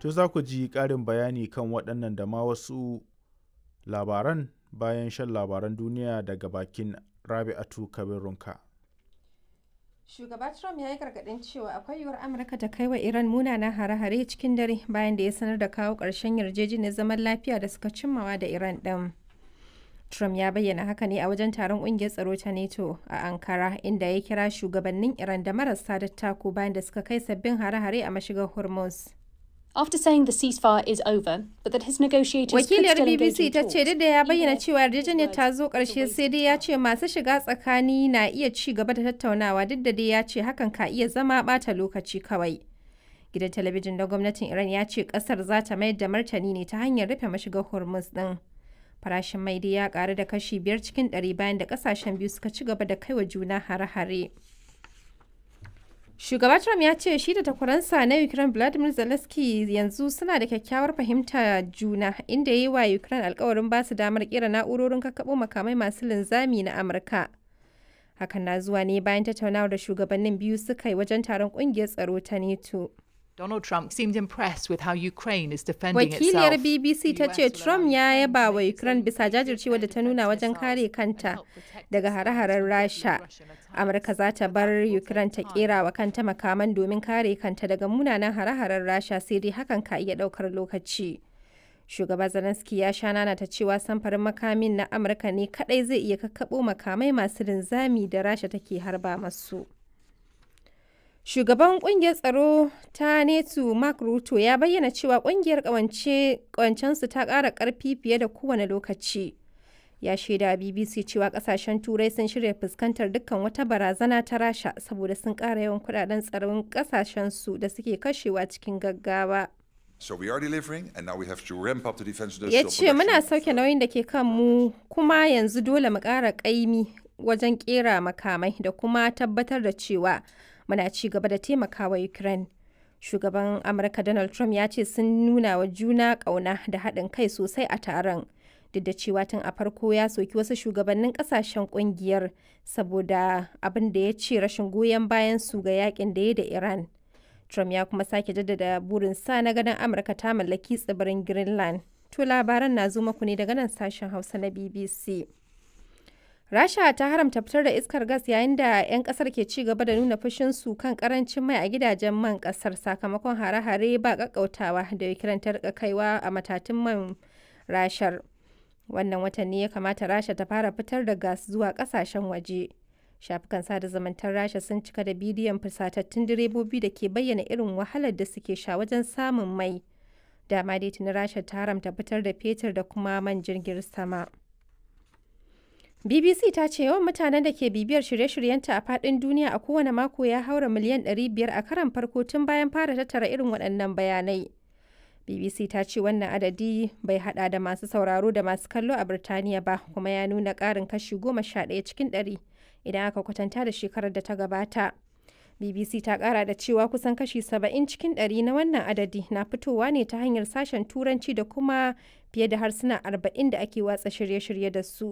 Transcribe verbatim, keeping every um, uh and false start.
To za ku ji ƙarin bayani kan waɗannan da ma wasu labaran bayan shan labaran duniya daga bakin Rabi'atu Kabir Runka. Shugaba Trump ya yi gargaɗin cewa akwai yiwuwar Amurka ta kai wa Iran munanan hare-hare cikin dare bayan da ya sanar da kawo ƙarshen yarjejeniyar zaman lafiya da suka cimmawa da Iran ɗin. Trump ya bayyana haka ne a wajen taron ƙungiyar tsaro ta NATO a Ankara, inda ya kira shugabannin Iran da marasa dattako bayan da suka kai sabbin hare-hare a mashigar Hormuz. After saying the ceasefire is over, but that his negotiators could Wakiliyar still engage B B C in ta ce talks. duk da ya bayyana cewa yarjejeniyar ta zo ƙarshe, sai dai ya ce masu shiga tsakani na iya ci gaba da tattaunawa, duk da dai ya ce hakan ka iya zama ɓata lokaci kawai. Gidan talabijin na gwamnatin Iran ya ce ƙasar za ta mayar da martani ne ta hanyar rufe mashigar Hormuz ɗin. Farashin mai dai ya ƙaru da kashi biyar cikin ɗari bayan da ƙasashen biyu suka ci gaba da kaiwa juna hare-hare. Shugaba Trump ya ce shi da takwaransa na Ukraine Vladimir Zelensky yanzu suna da kyakkyawar fahimta juna, inda ya yi wa Ukraine alkawarin ba su damar kera na'urorin kakkaɓo makamai masu linzami na Amurka. Hakan na zuwa ne bayan tattaunawar da shugabannin biyu suka yi wajen taron ƙungiyar tsaro ta NATO. Donald Trump seemed impressed with how Ukraine is defending Wakiliyar itself. B B C ta ce Trump ya yaba wa Ukraine bisa jajircewa da ta nuna wajen kare kanta daga hare-haren Rasha. Amurka za ta bar Ukraine ta kera wa kanta makaman domin kare kanta daga munanan hare-haren Rasha, sai dai hakan ka iya daukar lokaci. Shugaba Zelensky ya sha nana ta cewa samfarin makamin na Amurka ne kadai zai iya kakkaɓo makamai masu linzami da Rasha take harba masu. Shugaban kungiyar tsaro ta NATO Mark Rutte ya bayyana cewa kungiyar kawancensu ta ƙara ƙarfi fiye da kowane lokaci. Ya shaida B B C cewa kasashen Turai sun shirya fuskantar dukkan wata barazana ta Rasha saboda sun ƙara yawan kudaden tsaron kasashensu da suke kashewa cikin gaggawa. So we are delivering, and now we have to ramp up the defense Ya industrial ce muna production. sauke nauyin da ke kanmu, kuma yanzu dole mu ƙara ƙaimi wajen ƙera makamai da kuma tabbatar da cewa muna ci gaba da taimakawa Ukraine. Shugaban Amurka Donald Trump ya ce sun nuna wa juna ƙauna da haɗin kai sosai a taron. Duk da cewa tun a farko ya soki wasu shugabannin ƙasashen ƙungiyar saboda abin da ya ce rashin goyon bayan su ga yakin da ya da Iran. Trump ya kuma sake jaddada burinsa na ganin Amurka ta mallaki tsibirin Greenland. To labaran na zo muku ne daga nan sashen Hausa na B B C. Rasha ta haramta fitar da iskar gas yayin da 'yan kasar ke ci gaba da nuna fushinsu kan karancin mai a gidajen man kasar sakamakon hare-hare ba kakkautawa da Ukraine ta rika kaiwa a matatun man Rashar. Wannan watan ne ya kamata Rasha ta fara fitar da gas zuwa kasashen waje. Shafukan sada zumuntar Rasha sun cika da bidiyon fusatattun direbobi da ke bayyana irin wahalar da suke sha wajen samun mai. Dama dai tuni Rasha ta haramta fitar da fetur da kuma man jirgin sama. B B C ta ce yawan mutanen da ke bibiyar shirye-shiryenta a faɗin duniya a kowane mako ya haura miliyan ɗari biyar a karon farko tun bayan fara tattara irin waɗannan bayanai. B B C ta ce wannan adadi bai hada da masu sauraro da masu kallo a Birtaniya ba, kuma ya nuna ƙarin kashi goma sha ɗaya cikin ɗari idan aka kwatanta da shekarar da ta gabata. B B C ta ƙara da cewa kusan kashi saba'in cikin ɗari na wannan adadi na fitowa ne ta hanyar sashen Turanci da kuma fiye da harsuna arba'in da ake watsa shirye-shirye da su.